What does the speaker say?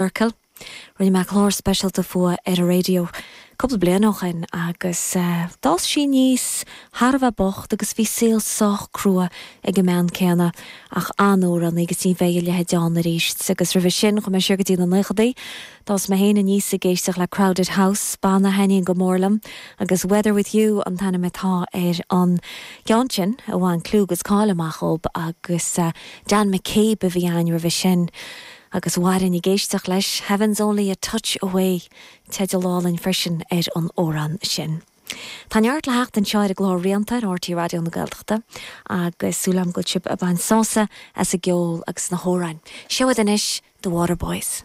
Circle. Rinne mé clár speisialta fúithi ar an raidió cúpla bliain ó shin agus d'fhás sí aníos thar a bheith bocht agus bhí saol sách crua ag an mbean céanna ach an-amhránaí agus ní bheidh a leithéid ann arís. Agus roimhe sin chuaigh mé siar go dtí na naochadaí. D'fhás mé féin aníos ag éisteacht le Crowded House, banna a thaitníonn go mór liom agus Weather With You an t-ainm atá ar an gceann sin a bhain clú agus cáil amach dhób agus Dan McCabe a bhí ann roimhe sin. Agus mhairfinn ag éisteacht leis, Heaven's Only a Touch Away, teideal álainn freisin ar an amhrán sin. Tá neart le theacht anseo ar an gclár Rianta ar RTÉ Raidió na Gaeltachta agus súil agam go bhfuil sibh ag baint sásamh as an gceol agus na hamhráin. Seo iad anois, The Waterboys.